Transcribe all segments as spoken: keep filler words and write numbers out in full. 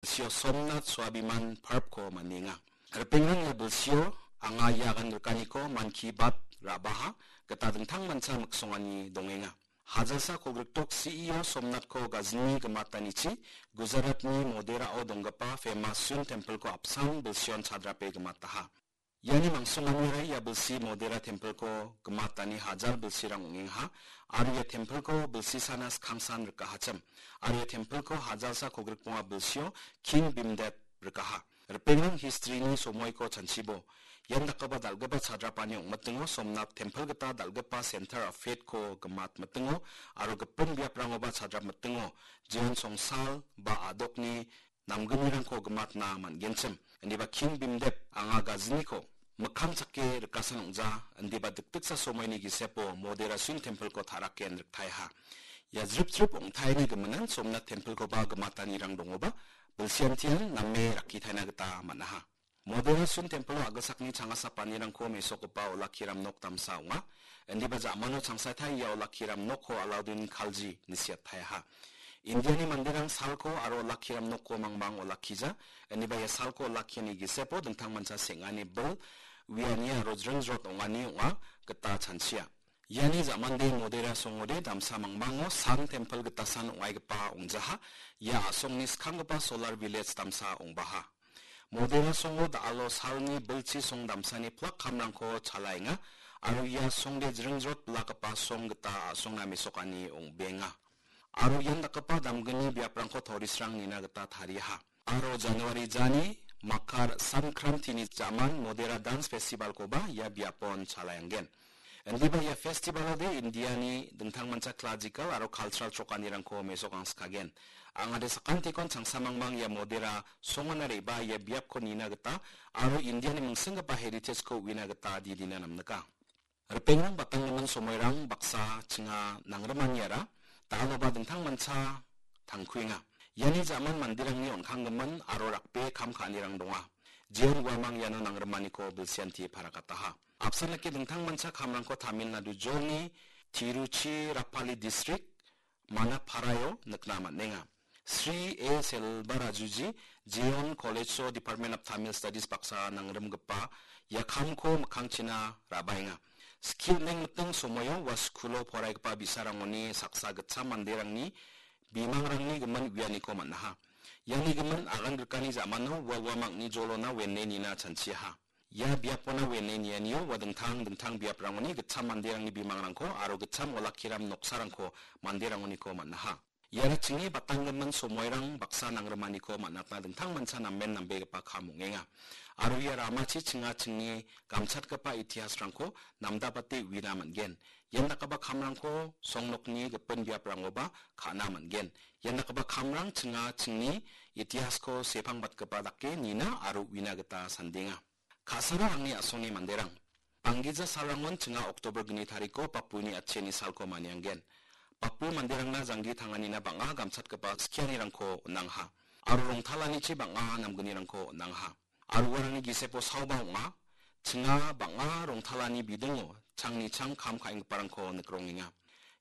bilsio Somnath Swabiman Park-ko man·enga. Ripengrang ia bilsio anga ia agan rikaniko Mann Ki Baat ra·baha gita dingtang mancha miksongani dongenga. Hajalsa kolgrikdok C E O Somnath-ko gajini gimatanichi Gujarat-ni Modera-o donggipa famous Sun Temple-ko apsan bilsion chadrape gimataha. Iani mangsonganiara ia bilsi Modera Temple-ko gimatani hajal bilsirang ong·engaha, aro ia Temple-ko bilsi sana skangsan rikahachim, aro ia Temple-ko hajalsa kolgrikbonga bilsio King Bhimdev rikaha. Ripengrang history-ni somoiko chanchibo. Ian dakgipa dal·gipa chadrapani ong·mitingo Somnath Temple gita dal·gipa Center of Faith-ko gimat mitingo aro gipin biaprangoba chadrap mitingo jeon songsal ba a·dokni namgnirangko gimatna man·genchim. Indiba King Bhimdev anga gajiniko mikkang chake rikasan ong·ja, indiba dikdiksa somoini gisepo Modera Sun Temple-ko ta·raken riktaeha. Ia jrip jrip ong·taeni giminan Somnath Temple-koba gimatanirang dongoba, bilsiantian name rakkitaina gita man·aha. Modera Sun Temple-o a·gilsakni changasapanirangko mesokgipa olakkiram nok damsa ong·a. Indiba ja·mano changsatai ia olakkiram nokko Alauddin Khalji ine siataeha. Indiani manderang salko aro olakkiram nokko mangmang olakkija. Indiba ia salko olakkiani gisepo dingtang mancha seng·ani bil uiani aro jringjrot ong·ani ong·a gita chanchia. Iani ja·mande Modera songode damsa mangmango Sun Temple gitasan ong·aigipa ong·jaha. Ia a·songni skanggipa Solar Village damsa ong·baha. Modera songo da·alo salni bilchi song damsani plak kamrangko chalaenga, aro ia songde jringjrot bilakgipa song gita a·songna mesokani ong·benga. Aro ian dakgipa damgni biaprangko tourist-rang nina gita tariaha. Aro January jani Makar Sankrantini ja·man Modera Dance Festival-koba ia biapon chalaenggen. Indiba ia festival-ode Indiani dingtang mancha classical aro cultural chokanirangko mesokangskagen. Angade sakantikon changsamangmang ia Modera songona re·baa ia biapko nina gita aro Indiani mingsinggipa heritage-ko uina gita didina namnika. Ripengrang batanggimin somoirang baksa chinga nangrimaniara da·aloba dingtang mancha tangkuenga. Iani ja·man manderangni on·kanggimin aro rakbe kam ka·anirang donga. Jeon uamang iano nangrimaniko bilsianti parakataha. Apsan dake dingtang mancha kamrangko Tamil Nadu jolni Tiruchirappalli distrik Manaparaio nikna man·enga. Sri A Selvarajuji Jeon College-o Department of Tamil Studies baksa nangrimgipa ia kamko mikkangchina ra·baenga. Skie on·engmiting somoio ua skulo poraigipa bi·sarangoni saksa gitcham manderangni bimangrangni gimin uianiko man·aha. Iani gimin agan rikani ja·mano ua uamangni jolona wene nina chanchiaha. Ia biapona wene nianio ua dingtang dingtang biaprangoni gitcham manderangni bimangrangko aro gitcham olakkiram noksarangko manderangoniko man·aha. Iara chingni batanggimin somoirang baksa nangrimaniko man·atna dingtang mancha namen nambegipa kam ong·enga. Aro ia ramachi chinga chingni gamchatgipa itihasrangko namdapate uina man·gen. Ian dakgipa kamrangko songnokni gipin biaprangoba ka·na man·gen. Ian dakgipa kamrang chinga chingni itihasko sepangbatgipa dake nina aro uina gita sandenga. Ka·sara angni a·songni manderang. Banggija salrangon chinga Oktober gni tariko Bapuni atchiani salko manianggen. Bapu manderangna janggi tanganina bang·a gamchatgipa skianirangko on·angha. Aro rongtalanichi bang·a namgnirangko on·angha. Aro uarangni gisepo saoba ong·a. Chinga bang·a rongtalani bidingo changni chang kam ka·enggiparangko nikrongenga.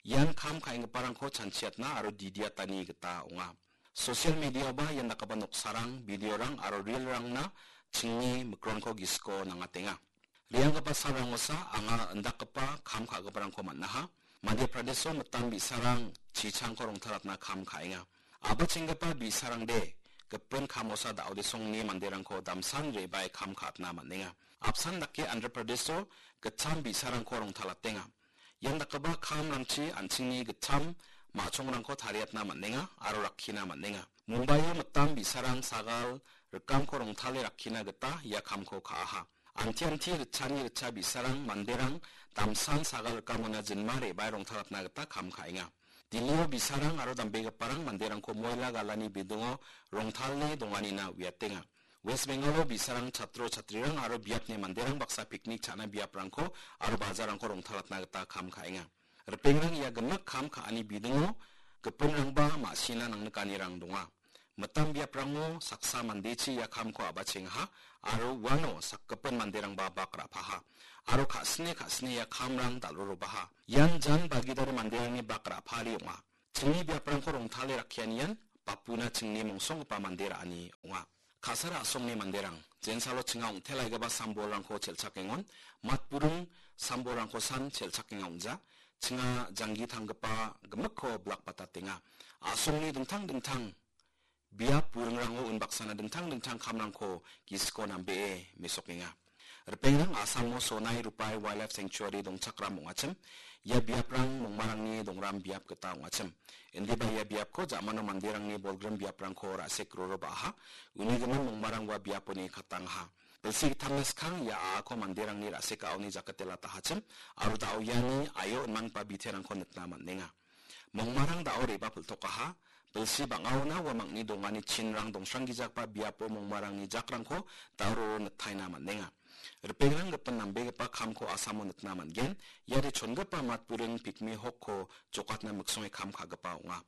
Ian kam ka·enggiparangko chanchiatna aro didiatani gita ong·a. Social media-oba ian dakgipa noksarang, video-rang aro reel-rangna chingni mikronko gisiko nangatenga. Re·anggipa salrangosa anga indakgipa kam ka·giparangko man·aha. Madhya Pradesh-o mitam bi·sarang chichangko rongtalatna kam ka·enga. A·bachenggipa bi·sarangde gipin kamosa da·odesongni manderangko damsan re·bae kam ka·atna man·enga. Apsan dake Andhra Pradesh-o gitcham bi·sarangko rongtalatenga. Ian dakgipa kamrangchi an·chingni gitcham ma·chongrangko tariatna man·enga aro rakkina man·enga. Mumbaio mitam bi·sarang sagal rikamko rongtale rakkina gita ia kamko ka·aha. Anti-anti ritchani ritcha bi·sarang manderang damsan sagal rikamona jinma re·bae rongtalatna gita kam ka·enga. Dillio bi·sarang aro dambegiparang manderangko moila galani bidingo rongtale donganina uiatenga. West Bengal-o bi·sarang chatro chatrirang aro biapni manderang baksa piknik cha·na biaprangko aro bajarrangko rongtalatna gita kam ka·enga. Ripengrang ia gimik kam ka·ani bidingo gipinrangba ma·sina nangnikanirang donga. Mitam biaprango saksa mandechi ia kamko a·bachengaha aro uano sakgipin manderangba bak ra·paha. Aro ka·sine ka·sine ia kamrang dal·rorobaha. Ian jan bagidare manderangni bak ra·pari ong·a. Chingni biaprangko rongtale rakkianian bapuna chingni mongsonggipa mande ra·ani ong·a. Ka·sara a·songni manderang, jensalo chinga ong·telaigipa sambolrangko chelchakengon, matburing sambolrangko san chelchakenga ong·ja, chinga janggi tanggipa gimikko bilakbatatenga. A·songni dingtang dingtang biap buringrango unbaksana dingtang dingtang kamrangko gisiko nambee mesokenga. Ripengrang Asamo Sonai Rupai Wildlife Sanctuary dongchakram ong·achim. Ia biaprang mongmarangni dongram biap gita ong·achim. Indiba ia biapko ja·mano manderangni bolgrim biaprangko ra·sek roro ba·aha. Uni gimin mongmarang ua biaponi katangaha. Bilsi gittamna skang ia a·ako manderangni ra·sek a·oni jakate latahachim. Aro da·o iani aio inmanggipa biterangko nikna man·enga. Mongmarang da·o re·bapiltokaha, bilsi bang·aona uamangni dongani chinrang dongsranggijagipa biapo mongmarangni jakrangko da·o nitaina man·enga. Ripengrang gipin nambegipa kamko Asamo nikna man·gen, iade chongipa matburing pikmi hokko jokatna miksonge kam ka·gipa ong·a.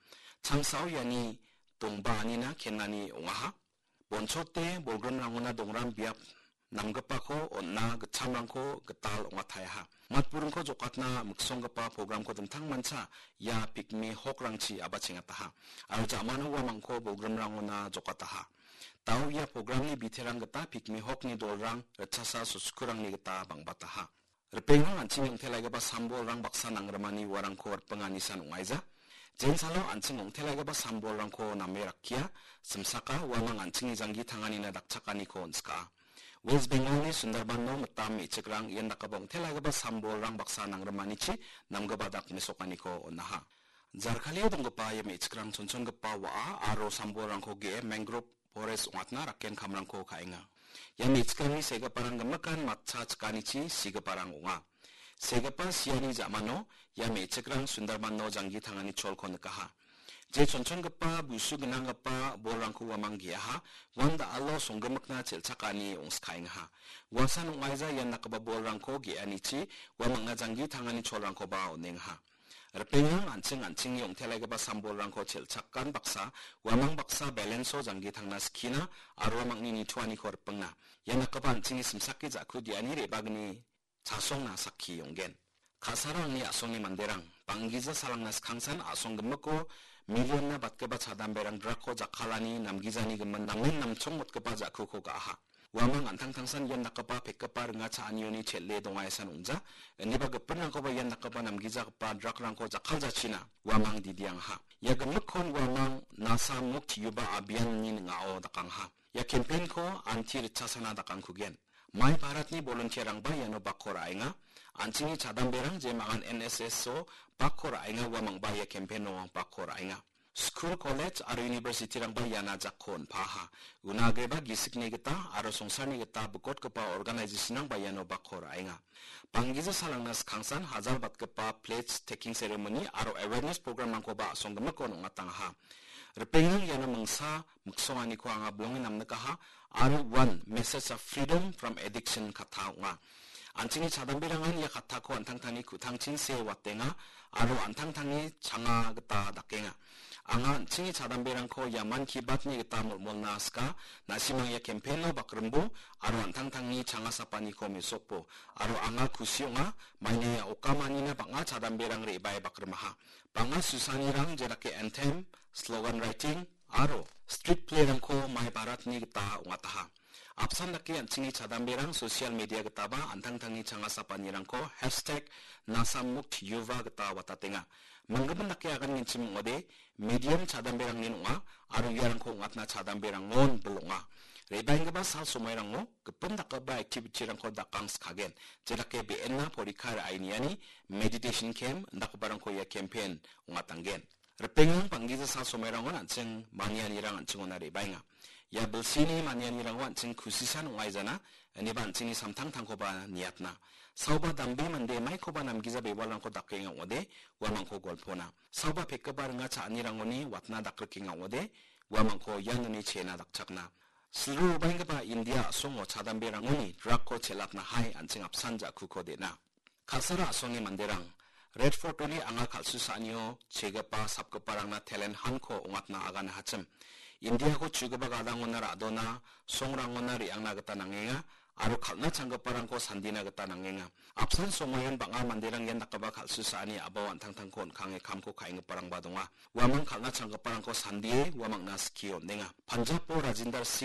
Changsao iani dongbaanina kenani ong·aha. Bonchote bolgrimrangona dongram biap namgipako on·na gitchamrangko gital ong·ataeha. Matburingko jokatna miksonggipa programko dingtang mancha ia pikmi hokrangchi abachengataha. Aro ja·mano uamangko bolgrimrangona jokataha. Da·o ia programni biterang gita pikmi hokni dolrang ritchasa soskurangni gita bang·bataha. Ripengrang an·ching ong·telaigipa sambolrang baksa nangrimani uarangko ripengani san ong·aija. Jensalo an·ching ong·telaigipa sambolrangko name rakkia, simsaka uamang an·chingni janggi tanganina dakchakaniko on·skaa. West Bengalni Sundarbanno mitam me·chikrang ian dakgipa ong·telaigipa sambolrang baksa nangrimanichi namgipa dak mesokaniko on·aha. Jarkalio donggipa ia me·chikrang chonchongipa wa·a aro sambolrangko ge·e mangrove forest ong·atna raken kamrangko ka·enga. Ia me·chikrangni segiparang gimikan matcha chikanichi sigiparang ong·a. Segipa siani ja·mano ia me·chikrang Sundarbanno janggi tangani cholko nikaha. Je chonchongipa busu gnanggipa bolrangko uamang ge·aha, uan da·alo songgimikna chelchakani ong·skaengaha. Uasan ong·aija ian dakgipa bolrangko ge·anichi uamangna janggi tangani cholrangkoba on·engaha. Ripengrang an·ching an·chingni ong·telaigipa sambolrangko chelchakan baksa, uamang baksa balance-o janggi tangna skina aro uamangni nitoaniko ripengna. Ia dakgipa an·chingni simsake ja·ku diani re·bagni chasongna sakki ong·gen. Ka·sara angni a·songni manderang, banggija salangna skangsan a·song gimiko million-na batgipa chadamberang drug-ko jakkalani namgijani gimin namen namchongmotgipa ja·kuko ga·aha. Uamang an·tangtangsan ian dakgipa pekgipa ringa cha·anioni chel·e dongaesan ong·ja. Indiba gipinrangkoba ian dakgipa namgijagipa drug-rangko jakkaljachina uamang didiangaha. Ia gimikkon uamang Nasa Mukt Yuva Abhiyan-ni ning·ao dakangha. Ia campaign-ko anti ritchasana dakangkugen. Mai Bharatni volunteer-rangba iano bakko ra·enga. An·chingni chadamberang jemangan N S S-o bakko ra·enga uamangba ia campaign-o bakko ra·enga. Skul, college aro university-rangba iana jakko on·paha. Una agreba gisikni gita aro songsarni gita bikotgipa organization-rangba iano bakko ra·enga. Banggija salangna skangsan hajal batgipa pledge taking ceremony aro awareness program-rangkoba a·song gimikon ong·atangaha. Ripengrang iano mingsa miksonganiko anga bilonge namnikaha aro uan message of freedom from addiction katta ong·a. An·chingni chadamberangan ia kattako an·tangtangni ku·tangchin see watenga aro an·tangtangni changa gita dakenga. Anga an·chingni chadamberangko ia Mann Ki Baat-ni gita molmolna sika, na·simang ia campaign-o bakrimbo aro an·tangtangni changasapaniko mesokbo. Aro anga kusi ong·a, maina ia okamanina bang·a chadamberang re·bae bakrimaha. Bang·a susanirang jedake anthem, slogan writing, aro street play-rangko Mai Bharat-ni gita ong·ataha. Apsan dake an·chingni chadamberang social media gitaba an·tangtangni changasapanirangko hashtag Nasa Mukt Yuva gita watatenga. Minggimin dake agangenchim ong·ode, medium chadamberangnin ong·a, aro iarangko ong·atna chadamberangon bil ong·a. Re·baenggipa sal somairango gipin dakgipa activity-rangko dakangskagen, jedake be·enna porikka ra·e niani, meditation camp indakgiparangko ia campaign ong·atanggen. Ripengrang banggija sal somairangon an·ching manianirang an·chingona re·baenga. Ia bilsini manianirango an·ching kusisan ong·aijana, iniba an·chingni samtangtangkoba niatna. Saoba dambe mande maikoba namgija bewalrangko dakenga ong·ode, uamangko golpona. Saoba pekgipa ringa cha·anirangoni watna dakrikenga ong·ode, uamangko ianoni chena dakchakna. Silro obaenggipa India a·songo chadamberangoni drug-ko chelatna hai an·ching apsan ja·kuko de·na. Ka·sara a·songni manderang, Red Fort-oni anga kal·susaanio chegipa sapgiparangna talent hunt-ko ong·atna aganahachim. India-ko chugipa gadangona ra·dona, songrangona re·angna gita nangenga, aro kal·na changgiparangko sandina gita nangenga. Apsan somoion bang·a manderang ian dakgipa kal·susaani a·bao an·tangtangko on·kange kamko ka·enggiparangba donga. Uamang kal·na changgiparangko sandie uamangna skie on·enga. Punjab-o Rajinder Singh